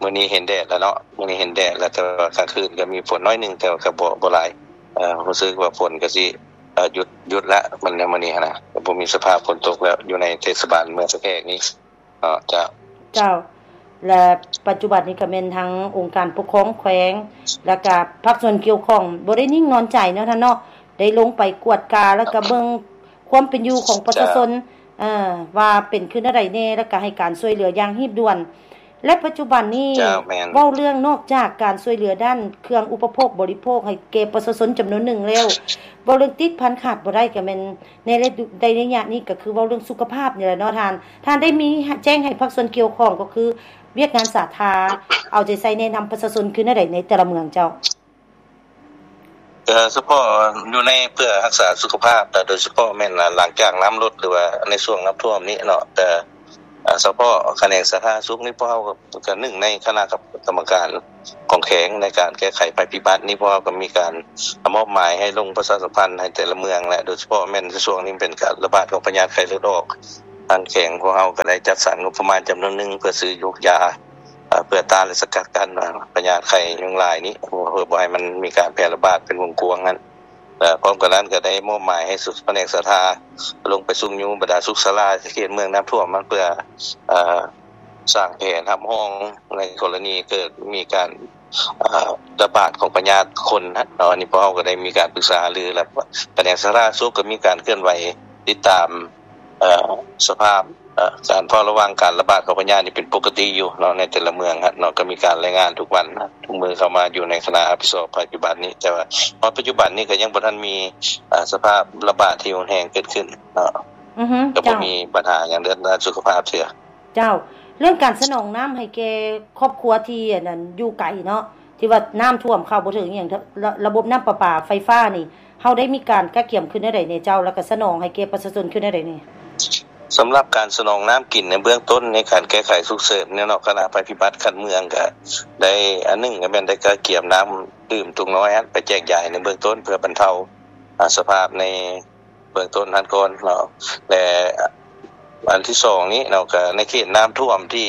ມື້ນີ້ເຫັນແດດແລ້ວເນາະ ມື້ນີ້ເຫັນແດດແລ້ວ ແຕ່ວ່າກາງຄືນກໍມີຝົນໜ້ອຍໜຶ່ງ ແຕ່ວ່າກໍບໍ່ ບໍ່ຫຼາຍ. ເອີ ຮູ້ສຶກວ່າຝົນກໍຊິ ເອີ ຢຸດ ຢຸດລະ ມັນ ມື້ນີ້ຫັ້ນນະ ກໍບໍ່ມີສະພາບຝົນຕົກແລ້ວ ຢູ່ໃນເທດສະບານເມືອງສະແກກນີ້. ເອີ ເຈົ້າ. ເຈົ້າ. ແລະ ປັດຈຸບັນນີ້ກໍແມ່ນທາງອົງການປົກຄອງແຂວງ ແລ້ວກໍພາກສ່ວນກ່ຽວຂ້ອງ ບໍ່ໄດ້ນິ່ງນອນໃຈເນາະທ່ານເນາະ ໄດ້ລົງໄປກວດກາ ແລ້ວກໍເບິ່ງຄວາມເປັນຢູ່ຂອງປະຊາຊົນ ເຈົ້າ ເອີ ວ່າເປັນຄືແນວໃດແດ່ ແລ້ວກໍໃຫ້ການຊ່ວຍເຫຼືອຢ່າງຮີບດ່ວນ. ແລະ ປັດຈຸບັນນີ້ ເຈົ້າ ແມ່ນ ເວົ້າເລື່ອງນອກຈາກການຊ່ວຍເຫຼືອດ້ານເຄື່ອງອຸປະໂພກບໍລິໂພກໃຫ້ແກ່ປະຊາຊົນຈຳນວນໜຶ່ງແລ້ວ ເວົ້າເລື່ອງຕິດພັນຂາດບໍ່ໄດ້ກໍແມ່ນ ໃນໄລຍະ ໃນໄລຍະນີ້ກໍຄືເວົ້າເລື່ອງສຸຂະພາບນີ້ແຫຼະເນາະທ່ານ. ທ່ານໄດ້ມີແຈ້ງໃຫ້ພາກສ່ວນກ່ຽວຂ້ອງ ກໍຄືວຽກງານສາທາ ເອົາໃຈໃສ່ແນະນຳປະຊາຊົນຄືແນວໃດໃນແຕ່ລະເມືອງເຈົ້າ? ເອີ ສະເພາະຢູ່ໃນເພື່ອຮັກສາສຸຂະພາບ ແລະ ໂດຍສະເພາະແມ່ນ ອາ ຫຼັງຈາກນ້ຳລົດ ຫຼືວ່າໃນຊ່ວງນ້ຳຖ້ວມນີ້ເນາະ ແຕ່ ອາ ສະເພາະຂະແໜງສາທາລະນະສຸກນີ້ ພວກເຮົາກໍ ກໍໜຶ່ງໃນຄະນະກຳ ກຳມະການຂອງແຂວງໃນການແກ້ໄຂໄພພິບັດນີ້ ພວກເຮົາກໍມີການມອບໝາຍໃຫ້ລົງປະຊາສຳພັນໃຫ້ແຕ່ລະເມືອງ ແລະ ໂດຍສະເພາະແມ່ນໃນຊ່ວງນີ້ເປັນການລະບາດຂອງພະຍາດໄຂ້ເລືອດອອກ ທາງແຂວງພວກເຮົາກໍໄດ້ຈັດສັນງົບປະມານຈຳນວນໜຶ່ງ ເພື່ອຊື້ຢູກຢາ ເພື່ອຕ້ານ ແລະ ສະກັດກັ້ນພະຍາດໄຂ້ຍຸງລາຍນີ້ ເພື່ອບໍ່ໃຫ້ມັນມີການແຜ່ລະບາດເປັນວົງກວ້າງນັ້ນ. ແລະ ພ້ອມກັນນັ້ນກໍໄດ້ມອບໝາຍໃຫ້ສຸ ພະແນກສາທາລົງໄປຊຸກຍູ້ບັນດາສຸກສາລາທີ່ເຂດເມືອງນ້ຳຖ້ວມນັ້ນ ເພື່ອ ເອີ ສ້າງແຜນຮັບຮອງໃນກໍລະນີເກີດມີການ ເອີ ລະບາດຂອງພະຍາດຄົນເນາະ. ອັນນີ້ພວກເຮົາກໍໄດ້ມີການປຶກສາຫາລື ແລະ ພະແນກສາທາລະນະສຸກກໍມີການເຄື່ອນໄຫວຕິດຕາມ ເອີ ສະພາບ ເອີ ການເຝົ້າລະວັງການລະບາດຂອງພະຍາດນີ້ເປັນປົກກະຕິຢູ່ເນາະ ໃນແຕ່ລະເມືອງເນາະ ກໍມີການລາຍງານທຸກວັນ ທຸກມື້ເຂົ້າມາຢູ່ໃນຄະນະຮັບຜິດຊອບໄພພິບັດນີ້. ແຕ່ວ່າຮອດປັດຈຸບັນນີ້ກໍຍັງບໍ່ທັນມີ ເອີ ສະພາບລະບາດທີ່ຮຸນແຮງເກີດຂຶ້ນເນາະ ອືຮຶ ກໍບໍ່ ເຈົ້າ ມີບັນຫາຫຍັງເລື່ອງດ້ານສຸຂະພາບເທື່ອ. ເຈົ້າ. ເລື່ອງການສະໜອງນ້ຳໃຫ້ແກ່ຄອບຄົວທີ່ ອັນນັ້ນ ຢູ່ໄກເນາະ ທີ່ວ່ານ້ຳຖ້ວມເຂົ້າບໍ່ເຖິງອີ່ຫຍັງ ລະ ລະບົບນ້ຳປະປາໄຟຟ້ານີ້ ເຮົາໄດ້ມີການກະກຽມຄືແນວໃດແດ່ເຈົ້າ ແລ້ວກໍສະໜອງໃຫ້ແກ່ປະຊາຊົນຄືແນວໃດແດ່? ສຳລັບການສະໜອງນ້ຳກິນໃນເບື້ອງຕົ້ນ ໃນການແກ້ໄຂສຸກເສີນເນາະ ຄະນະໄພພິບັດຂັ້ນເມືອງກໍໄດ້ ອັນໜຶ່ງກໍແມ່ນໄດ້ກະກຽມນ້ຳດື່ມຕຸງນ້ອຍຫັ້ນໄປແຈກຢາຍໃນເບື້ອງຕົ້ນ ເພື່ອບັນເທົາ ອາ ສະພາບໃນເບື້ອງຕົ້ນຫັ້ນກ່ອນເນາະ ແລະ ອັນທີສອງນີ້ເນາະ ກໍໃນເຂດນ້ຳຖ້ວມທີ່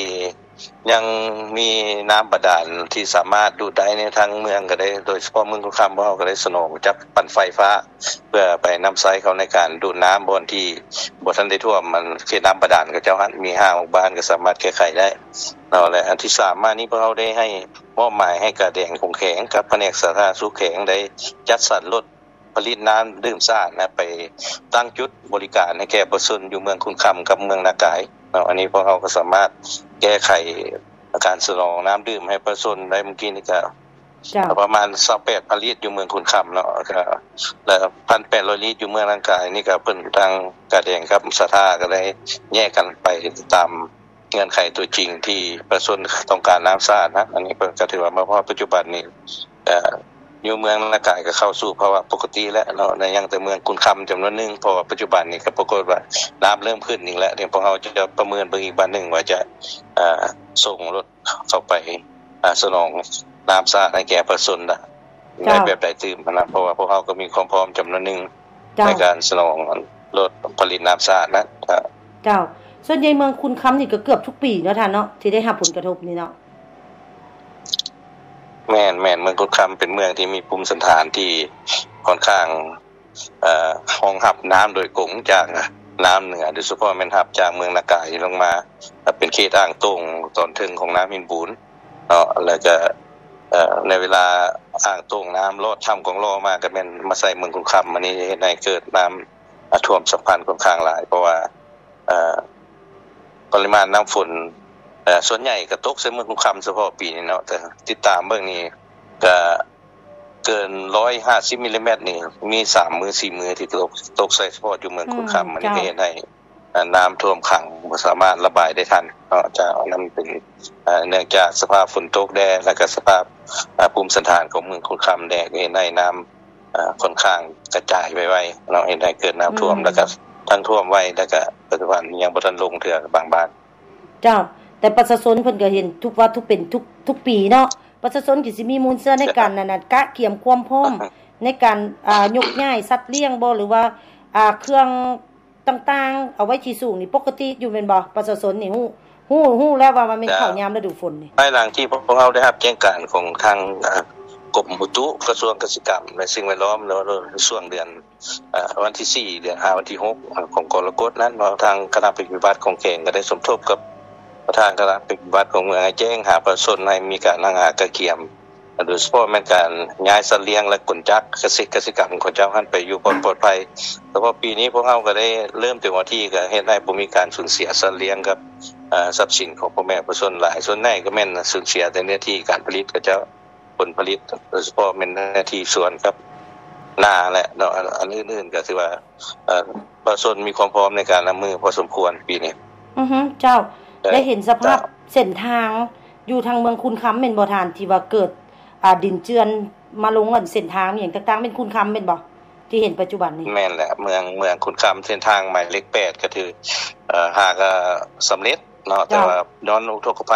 ຍັງມີນ້ຳບາດານທີ່ສາມາດດູດໄດ້ໃນທາງເມືອງກໍໄດ້ ໂດຍສະເພາະເມືອງຄຸນຄຳ ພວກເຮົາກໍໄດ້ສະໜອງຈັບປັ່ນໄຟຟ້າ ເພື່ອໄປນຳໃຊ້ເຂົ້າໃນການດູດນ້ຳບ່ອນທີ່ບໍ່ທັນໄດ້ຖ້ວມ ອັນເຂດນ້ຳບາດານເຂົາເຈົ້າຫັ້ນ ມີຫ້າຫົກບ້ານກໍສາມາດແກ້ໄຂໄດ້ເນາະ. ແລະ ອັນທີສາມມານີ້ ພວກເຮົາໄດ້ໃຫ້ ມອບໝາຍໃຫ້ກາແດງຂອງແຂວງກັບພະແນກສາທາລະນະສຸກແຂວງ ໄດ້ຈັດສັນລົດ ຜະລິດນ້ຳດື່ມສະອາດນະ ໄປຕັ້ງຈຸດບໍລິການໃຫ້ແກ່ປະຊາຊົນຢູ່ເມືອງຄຸນຄຳກັບເມືອງນາກາຍເນາະ. ອັນນີ້ພວກເຮົາກໍສາມາດແກ້ໄຂການສະໜອງນ້ຳດື່ມໃຫ້ປະຊາຊົນໄດ້. ມື້ກີ້ນີ້ກໍ ເຈົ້າ ປະມານຊາວແປດພັນລິດຢູ່ເມືອງຄຸນຄຳເນາະ ແລ້ວ ແລ້ວ ໜຶ່ງພັນແປດຮ້ອຍລິດຢູ່ເມືອງນາກາຍນີ້ ກໍເພິ່ນທາງກາແດງກັບສາທາກໍໄດ້ແຍກກັນໄປຕາມ ເງື່ອນໄຂຕົວຈິງທີ່ປະຊາຊົນຕ້ອງການນ້ຳສະອາດນະ. ອັນນີ້ເພິ່ນກໍຖືວ່າມາຮອດປັດຈຸບັນນີ້ ເອີ ຢູ່ເມືອງນາກາຍກໍເຂົ້າສູ່ພາວະປົກກະຕິແລ້ວເນາະ ຍັງແຕ່ເມືອງຄຸນຄຳຈຳນວນໜຶ່ງ ເພາະວ່າປັດຈຸບັນນີ້ກໍປາກົດວ່ານ້ຳເລີ່ມຂຶ້ນອີກແລ້ວ. ດຽວພວກເຮົາຈະປະເມີນເບິ່ງອີກບາດໜຶ່ງວ່າຈະ ເອີ ສົ່ງລົດເຂົ້າໄປ ອາ ສະໜອງນ້ຳສະອາດໃຫ້ແກ່ປະຊາຊົນນະ ເຈົ້າ ໄດ້ແບບໃດຕື່ມນະ ເພາະວ່າພວກເຮົາກໍມີຄວາມພ້ອມຈຳນວນໜຶ່ງ ເຈົ້າ ໃນການສະໜອງລົດຜະລິດນ້ຳສະອາດນະ. ເຈົ້າ. ສ່ວນໃຫຍ່ເມືອງຄຸນຄຳນີ້ກໍເກືອບທຸກປີເນາະທ່ານເນາະ ທີ່ໄດ້ຮັບຜົນກະທົບນີ້ເນາະ? ແມ່ນໆ ເມືອງຄຸນຄຳເປັນເມືອງທີ່ມີພູມສັນຖານທີ່ຄ່ອນຂ້າງ ເອີ ຮອງຮັບນ້ຳໂດຍກົງຈາກນ້ຳເໜືອ ໂດຍສະເພາະແມ່ນຮັບຈາກເມືອງນາກາຍລົງມາ ເປັນເຂດອ່າງໂຕ່ງຕອນເທິງຂອງນ້ຳຫີນບູນເນາະ. ແລ້ວກໍ ເອີ ໃນເວລາອ່າງໂຕ່ງນ້ຳລອດຖ້ຳກອງຫຼໍ່ມາ ກໍແມ່ນມາໃສ່ເມືອງຄຸນຄຳ ອັນນີ້ເຮັດໃຫ້ເກີດນ້ຳ ອາ ຖ້ວມສຳພັນຄ່ອນຂ້າງຫຼາຍ ເພາະວ່າ ເອີ ປະລິມານນ້ຳຝົນ ເອີ ສ່ວນໃຫຍ່ກໍຕົກໃສ່ເມືອງຄຸນຄຳສະເພາະປີນີ້ເນາະ ແຕ່ຕິດຕາມເບິ່ງນີ້ກໍເກີນຮ້ອຍຫ້າສິບມິລລີແມັດນີ້ ມີສາມມື້ສີ່ມື້ທີ່ຕົກ ຕົກໃສ່ສະເພາະຢູ່ເມືອງຄຸນຄຳ. ອືມ ອັນນີ້ກໍເຮັດໃຫ້ ເຈົ້າ ອາ ນ້ຳຖ້ວມຂັງ ບໍ່ສາມາດລະບາຍໄດ້ທັນເນາະ. ຈາກນັ້ນເປັນ ເອີ ເນື່ອງຈາກສະພາບຝົນຕົກແດ່ ແລ້ວກໍສະພາບ ອາ ພູມສັນຖານຂອງເມືອງຄຸນຄຳແດ່ ກໍເຮັດໃຫ້ນ້ຳ ອາ ຄ່ອນຂ້າງກະຈາຍໄວໆເນາະ ເຮັດໃຫ້ເກີດນ້ຳຖ້ວມ ອືມ ແລ້ວກະທັງຖ້ວມໄວ ແລ້ວກະປັດຈຸບັນຍັງບໍ່ທັນລົງເທື່ອບາງບ້ານ. ເຈົ້າ. ແຕ່ປະຊາຊົນເພິ່ນກະເຫັນທຸກວ່າທຸກເປັນທຸກ ທຸກປີເນາະ ປະຊາຊົນກະຊິມີມູນເຊື້ອໃນການ ເຈົ້າ ອັນນັ້ນ ກະກຽມຄວາມພ້ອມໃນການ ອາ ຍົກຍ້າຍສັດລ້ຽງບໍ ຫຼືວ່າ ອາ ເຄື່ອງຕ່າງໆ ເອົາໄວ້ທີ່ສູງນີ້ປົກກະຕິຢູ່ແມ່ນບໍ່? ປະຊາຊົນນີ້ຮູ້ ຮູ້ ຮູ້ແລ້ວວ່າມັນແມ່ນເຂົ້າຍາມລະດູຝົນນີ້. ພາຍຫຼັງທີ່ພວກເຮົາໄດ້ຮັບແຈ້ງການຂອງທາງ ເອີ ກົມອຸຕຸ ກະຊວງກະສິກຳ ແລະ ສິ່ງແວດລ້ອມ ໃນຊ່ວງເດືອນ ເອີ ວັນທີສີ່ ເດືອນຫ້າ ວັນທີຫົກ ຂອງກໍລະກົດນັ້ນເນາະ ທາງຄະນະໄພພິບັດຂອງແຂວງກະໄດ້ສົມທົບກັບປະທານຄະນະໄພພິບັດຂອງເມືອງໃຫ້ແຈ້ງຫາປະຊາຊົນ ໃຫ້ມີການຫ້າງຫາກະກຽມ ໂດຍສະເພາະແມ່ນການຍ້າຍສັດລ້ຽງ ແລະ ກົນຈັກກະສິກຳຂອງເຈົ້າຫັ້ນໄປຢູ່ບ່ອນປອດໄພ. ສະເພາະປີນີ້ພວກເຮົາກະໄດ້ເລີ່ມເຕັມທີ່ ກະເຮັດໃຫ້ບໍ່ມີການສູນເສຍສັດລ້ຽງກັບ ເອີ ຊັບສິນຂອງພໍ່ແມ່ປະຊາຊົນຫຼາຍ. ສ່ວນໃຫຍ່ກະແມ່ນສູນເສຍແຕ່ເນື້ອທີ່ການຜະລິດຂອງເຈົ້າ ຜົນຜະລິດ ໂດຍສະເພາະແມ່ນເນື້ອທີ່ສວນກັບນາແຫຼະເນາະ. ອັນ ອັນອື່ນໆກະຖືວ່າ ເອີ ປະຊາຊົນມີຄວາມພ້ອມໃນການຮັບມືພໍສົມຄວນປີນີ້. ອືຮຶ ເຈົ້າ ໄດ້ເຫັນສະພາບເສັ້ນທາງຢູ່ທາງເມືອງຄູນຄຳແມ່ນບໍ່ທ່ານ ທີ່ວ່າເກີດ ອາ ດິນເຈື່ອນມາລົງອັນເສັ້ນທາງອີ່ຫຍັງຕ່າງໆ ແມ່ນຄູນຄຳແມ່ນບໍ່ ທີ່ເຫັນປັດຈຸບັນນີ້? ແມ່ນແຫຼະ ເມືອງ ເມືອງຄູນຄຳ ເສັ້ນທາງໝາຍເລກແປດ ກະຖື ເອີ ຫາກະສຳເລັດເນາະ ເຈົ້າ ແຕ່ວ່າຍ້ອນອຸທົກກະໄພ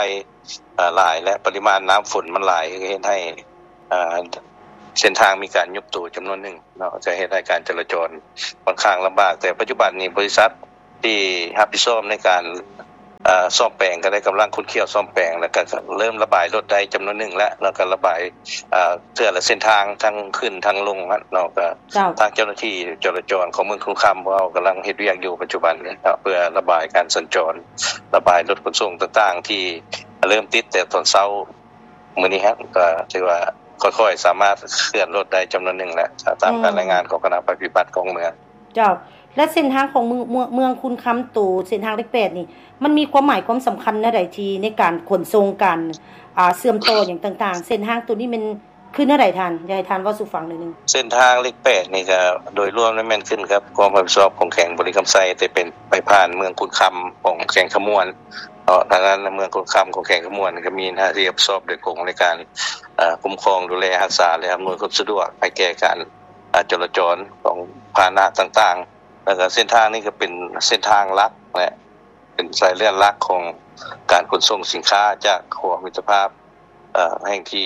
ເອີ ຫຼາຍ ແລະ ປະລິມານນ້ຳຝົນມັນຫຼາຍ ເຮັດໃຫ້ ເອີ ເສັ້ນທາງມີການຍຸບໂຕຈຳນວນໜຶ່ງເນາະ ຈະເຮັດໃຫ້ການຈະລາຈອນຂ້ອນຂ້າງລຳບາກ. ແຕ່ປັດຈຸບັນນີ້ບໍລິສັດທີ່ຮັບຜິດຊອບໃນການ ເອີ ສ້ອມແປງ ກະໄດ້ກຳລັງຂຸດຄ້ຽວສ້ອມແປງ ແລ້ວກະເລີ່ມລະບາຍລົດໄດ້ຈຳນວນໜຶ່ງແລ້ວ ແລ້ວກະລະບາຍ ເອີ ເທື່ອລະເສັ້ນທາງ ທັງຂຶ້ນທັງລົງຫັ້ນເນາະ. ກະ ເຈົ້າ ທາງເຈົ້າໜ້າທີ່ຈະລາຈອນຂອງເມືອງຄູນຄຳ ພວກເຮົາກຳລັງເຮັດວຽກຢູ່ປັດຈຸບັນນີ້ເນາະ ເພື່ອລະບາຍການສັນຈອນ ລະບາຍລົດຂົນສົ່ງຕ່າງໆ ທີ່ເລີ່ມຕິດແຕ່ຕອນເຊົ້າມື້ນີ້ຫັ້ນ ກະຖືວ່າຄ່ອຍໆສາມາດເຄື່ອນລົດໄດ້ຈຳນວນໜຶ່ງແລ້ວ ຕາມການ ອືມ ລາຍງານຂອງຄະນະໄພພິບັດຂອງເມືອງ. ເຈົ້າ ແລະ ເສັ້ນທາງຂອງເມືອງ ເມືອງ ເມືອງຄູນຄຳ ໂຕເສັ້ນທາງເລກແປດນີ້ ມັນມີຄວາມໝາຍຄວາມສຳຄັນແນວໃດ ທີ່ໃນການຂົນສົ່ງ ການ ອາ ເຊື່ອມຕໍ່ຫຍັງຕ່າງໆ ເສັ້ນທາງໂຕນີ້ແມ່ນຄືແນວໃດທ່ານ? ຢາກໃຫ້ທ່ານເວົ້າສູ່ຟັງໜ້ອຍໜຶ່ງ. ເສັ້ນທາງເລກແປດນີ້ກະໂດຍລວມແມ່ນຂຶ້ນກັບຄວາມຮັບຜິດຊອບຂອງແຂວງບໍລິຄຳໄຊ ແຕ່ເປັນໄປຜ່ານເມືອງຄູນຄຳຂອງແຂວງຄຳມ່ວນເນາະ. ທາງດ້ານເມືອງຄູນຄຳຂອງແຂວງຄຳມ່ວນກະມີໜ້າທີ່ຮັບຜິດຊອບໂດຍກົງໃນການ ເອີ ຄຸ້ມຄອງດູແລຮັກສາ ແລະ ອຳນວຍຄວາມສະດວກໃຫ້ແກ່ການ ອາ ຈະລາຈອນຂອງພາຫະນະຕ່າງໆ ແລ້ວກະເສັ້ນທາງນີ້ກະເປັນເສັ້ນທາງຫຼັກ ແລະ ເປັນສາຍເລືອດຫຼັກຂອງການຂົນສົ່ງສິນຄ້າຈາກຂົວມິດຕະພາບ ເອີ ແຫ່ງທີ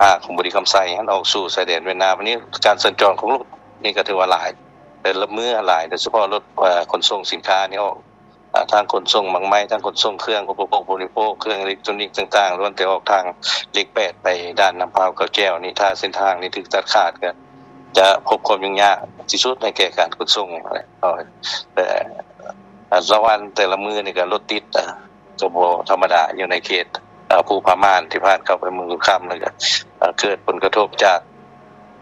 ຫ້າຂອງບໍລິຄຳໄຊຫັ້ນ ອອກສູ່ຊາຍແດນຫວຽດນາມ. ອັນນີ້ການສັນຈອນຂອງລົດນີ້ກະຖືວ່າຫຼາຍ ແຕ່ລະມື້ຫຼາຍ ໂດຍສະເພາະລົດ ເອີ ຂົນສົ່ງສິນຄ້ານີ້ອອກ ອາ ທັງຂົນສົ່ງໝາກໄມ້ ທັງຂົນສົ່ງເຄື່ອງອຸປະໂພກບໍລິໂພກ ເຄື່ອງເອເລັກໂຕນິກຕ່າງໆ ລ້ວນແຕ່ອອກທາງເລກແປດໄປດ່ານນ້ຳພ້າວ ເກົ້າແຈວນີ້. ຖ້າເສັ້ນທາງນີ້ຖືກຕັດຂາດ ກະຈະພົບຄວາມຫຍຸ້ງຍາກທີ່ສຸດໃຫ້ແກ່ການຂົນສົ່ງ. ແຕ່ລະວັນແຕ່ລະມື້ນີ້ກະລົດຕິດ ກະບໍ່ທຳມະດາ ຢູ່ໃນເຂດ ເອີ ພູຜາມ່ານ ທີ່ຜ່ານເຂົ້າໄປເມືອງຄູນຄຳ ແລ້ວກະ ເອີ ເກີດຜົນກະທົບຈາກ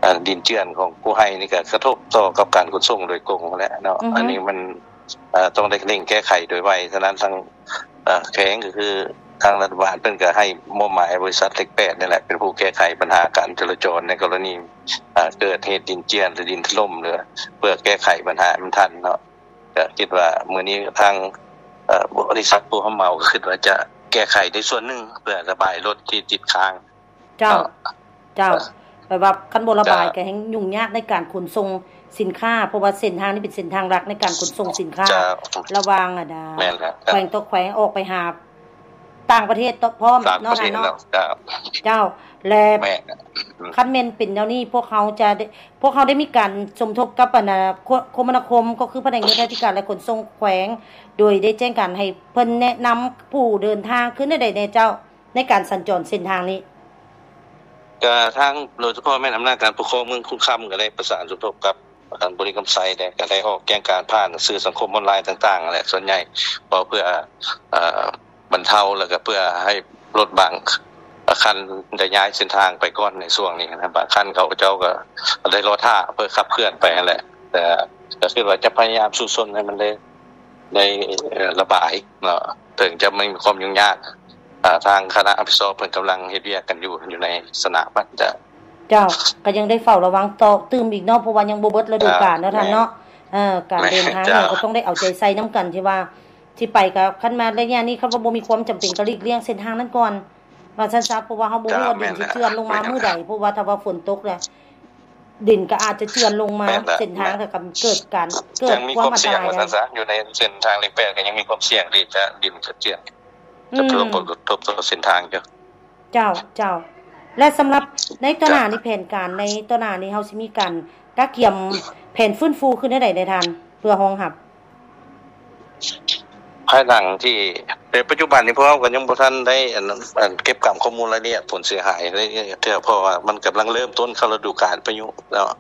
ເອີ ດິນເຈື່ອນຂອງພູໄຮ່ນີ້ກະກະທົບຕໍ່ກັບການຂົນສົ່ງໂດຍກົງຫັ້ນແຫຼະເນາະ. ອືຮຶ ອັນນີ້ມັນ ເອີ ຕ້ອງໄດ້ເລັ່ງແກ້ໄຂໂດຍໄວ. ສະນັ້ນທາງ ເອີ ແຂວງກະຄືທາງລັດຖະບານເພິ່ນກະໃຫ້ມອບໝາຍໃຫ້ບໍລິສັດເລກແປດນີ້ແຫຼະ ເປັນຜູ້ແກ້ໄຂບັນຫາການຈະລາຈອນໃນກໍລະນີ ເອີ ເກີດເຫດດິນເຈື່ອນ ຫຼື ດິນຖະຫຼົ່ມ ຫຼື ເພື່ອແກ້ໄຂບັນຫາໃຫ້ມັນທັນເນາະ. ກະຄິດວ່າມື້ນີ້ທາງ ເອີ ບໍລິສັດຜູ້ຮັບເໝົາກະຄິດວ່າຈະແກ້ໄຂໃນສ່ວນໜຶ່ງ ເພື່ອລະບາຍລົດທີ່ຕິດຄ້າງ. ເຈົ້າ ເນາະ ເຈົ້າ ເອີ ແປວ່າຄັນບໍ່ລະບາຍ ເຈົ້າ ກະແຮ່ງຫຍຸ້ງຍາກໃນການຂົນສົ່ງສິນຄ້າ ເພາະວ່າເສັ້ນທາງນີ້ເປັນເສັ້ນທາງຫຼັກໃນການຂົນສົ່ງສິນຄ້າ ເຈົ້າ ລະຫວ່າງ ອັນ ແມ່ນແລ້ວ ແຂວງຕໍ່ແຂວງ ອອກໄປຫາຕ່າງປະເທດ ພ້ອມເນາະທ່ານເນາະ. ເຈົ້າ ເຈົ້າ ແລະ ແມ່ນ ຄັນແມ່ນເປັນແນວນີ້ ພວກເຮົາຈະໄດ້ ພວກເຮົາໄດ້ມີການສົມທົບກັບ ອັນ ຄົມມະນາຄົມ ກໍຄືພະແນກໂຍທາທິການ ແລະ ຂົນສົ່ງແຂວງ ໂດຍໄດ້ແຈ້ງການໃຫ້ເພິ່ນແນະນຳຜູ້ເດີນທາງຄືແນວໃດແດ່ເຈົ້າ ໃນການສັນຈອນເສັ້ນທາງນີ້? ກະທາງ ໂດຍສະເພາະແມ່ນອຳນາດການປົກຄອງເມືອງຄູນຄຳ ກະໄດ້ປະສານສົມທົບກັບ ບໍລິຄຳໄຊ ແລະ ກະໄດ້ອອກແຈ້ງການຜ່ານສື່ສັງຄົມອອນລາຍຕ່າງໆ ຫັ້ນແຫຼະ ສ່ວນໃຫຍ່ ເພາະເພື່ອ ເອີ ບັນເທົາ ແລ້ວກະເພື່ອໃຫ້ລົດບາງຄັນໄດ້ຍ້າຍເສັ້ນທາງໄປກ່ອນໃນຊ່ວງນີ້ນະ. ບາງຄັນເຂົາເຈົ້າກະໄດ້ລໍຖ້າເພື່ອຂັບເຄື່ອນໄປຫັ້ນແຫຼະ ແຕ່ກະຄິດວ່າຈະພະຍາຍາມສູ້ຊົນໃຫ້ມັນໄດ້ ໄດ້ ເອີ ລະບາຍເນາະ ເຖິງຈະມີຄວາມຫຍຸ້ງຍາກ ເອີ ທາງຄະນະຮັບຜິດຊອບເພິ່ນກຳລັງເຮັດວຽກກັນຢູ່ ຢູ່ໃນສະໜາມຫັ້ນ. ເຈົ້າ ເຈົ້າ ກະຍັງໄດ້ເຝົ້າລະວັງຕໍ່ຕື່ມອີກເນາະ ເພາະວ່າຍັງບໍ່ເບິດລະດູການເນາະທ່ານເນາະ. ເອີ ການເດີນທາງນີ້ກະຕ້ອງໄດ້ເອົາໃຈໃສ່ນຳກັນ ທີ່ວ່າ ຊິໄປກະ ຄັນມາໄລຍະນີ້ ຄັນວ່າບໍ່ມີຄວາມຈຳເປັນກະຫຼີກລ່ຽງເສັ້ນທາງນັ້ນກ່ອນ ວ່າຊັ້ນຊະ ເພາະວ່າເຮົາບໍ່ຮູ້ວ່າດິນຊິເຈື່ອນລົງມາມື້ໃດ ເພາະວ່າຖ້າວ່າຝົນຕົກແລ້ວ ດິນກະອາດຈະເຈື່ອນລົງມາ ເສັ້ນທາງກະເກີດການ ເກີດຄວາມອັນຕະລາຍ ວ່າຊັ້ນຊະ ຢູ່ໃນເສັ້ນທາງເລກແປດກະຍັງມີຄວາມສ່ຽງທີ່ຈະ ດິນຈະເຈື່ອນ ຈະເປັນຜົນກະທົບຕໍ່ເສັ້ນທາງຢູ່. ເຈົ້າ ເຈົ້າ ແລະ ສຳລັບໃນຕໍ່ໜ້ານີ້ ແຜນການໃນຕໍ່ໜ້ານີ້ ເຮົາຊິມີການກະກຽມແຜນຟື້ນຟູຄືແນວໃດແດ່ທ່ານ ເພື່ອຮອງຮັບ? ພາຍຫຼັງທີ່ ໃນປັດຈຸບັນນີ້ພວກເຮົາກໍຍັງບໍ່ທັນໄດ້ອັນ ອັນເກັບກຳຂໍ້ມູນລາຍລະອຽດຜົນເສຍຫາຍລາຍລະອຽດເທື່ອ ເພາະວ່າມັນກຳລັງເລີ່ມຕົ້ນເຂົ້າລະດູການພາຍຸເນາະ.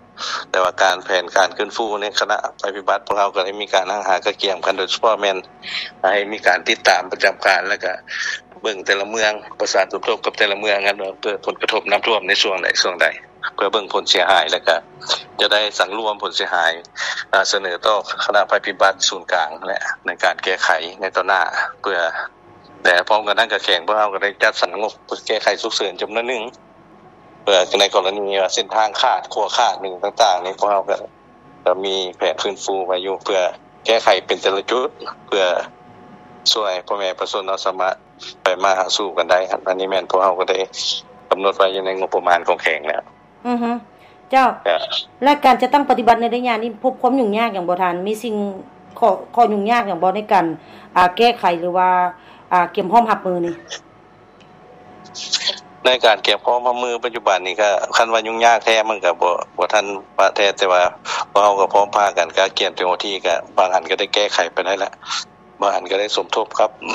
ແຕ່ວ່າການ ແຜນການຟື້ນຟູໃນຄະນະໄພພິບັດ ພວກເຮົາກໍໄດ້ມີການຫາກະກຽມກັນ ໂດຍສະເພາະແມ່ນໃຫ້ມີການຕິດຕາມປະຈຳການ ແລ້ວກະເບິ່ງແຕ່ລະເມືອງ ປະສານສົມທົບກັບແຕ່ລະເມືອງຫັ້ນ ເພື່ອຜົນກະທົບນ້ຳຖ້ວມໃນຊ່ວງໃດຊ່ວງໃດ ເພື່ອເບິ່ງຜົນເສຍຫາຍ ແລ້ວກະຈະໄດ້ສັງລວມຜົນເສຍຫາຍ ອາ ສະເໜີຕໍ່ຄະນະໄພພິບັດສູນກາງ ແລະ ໃນການແກ້ໄຂໃນຕໍ່ໜ້າ ເພື່ອ ແລະ ພ້ອມກັນນັ້ນກະແຂວງພວກເຮົາກໍໄດ້ຈັດສັນງົບແກ້ໄຂສຸກເສີນຈຳນວນໜຶ່ງ ເພື່ອໃນກໍລະນີວ່າເສັ້ນທາງຂາດ ຂົວຂາດ ອີ່ຫຍັງຕ່າງໆນີ້ ພວກເຮົາກໍ ກໍມີແຜນຟື້ນຟູໄວ້ຢູ່ ເພື່ອແກ້ໄຂເປັນແຕ່ລະຈຸດ ເພື່ອຊ່ວຍພໍ່ແມ່ປະຊາຊົນເຮົາສາມາດໄປມາຫາສູ່ກັນໄດ້. ອັນນີ້ແມ່ນພວກເຮົາກໍໄດ້ກຳນົດໄວ້ຢູ່ໃນງົບປະມານຂອງແຂວງແລ້ວ. ອືຮຶ ເຈົ້າ. ແລະການຈັດຕັ້ງປະຕິບັດໃນໄລຍະນີ້ ພົບຄວາມຫຍຸ້ງຍາກຫຍັງບໍ່ທ່ານ? ມີສິ່ງ ຂໍ້ ຂໍ້ຫຍຸ້ງຍາກຫຍັງບໍ່ໃນການ ອາ ແກ້ໄຂ ຫຼືວ່າ ອາ ກຽມພ້ອມຮັບມືນີ້? ໃນການກຽມພ້ອມຮັບມືປັດຈຸບັນນີ້ ກໍຄັນວ່າຫຍຸ້ງຍາກແທ້ ມັນກໍບໍ່ ບໍ່ທັນປະແທ້ ແຕ່ວ່າພວກເຮົາກໍພ້ອມພາກັນກະກຽມເຕັມທີ່ ກໍບາງອັນກໍໄດ້ແກ້ໄຂໄປໄດ້ແລ້ວ ບາງອັນກໍໄດ້ສົມທົບກັບ ອ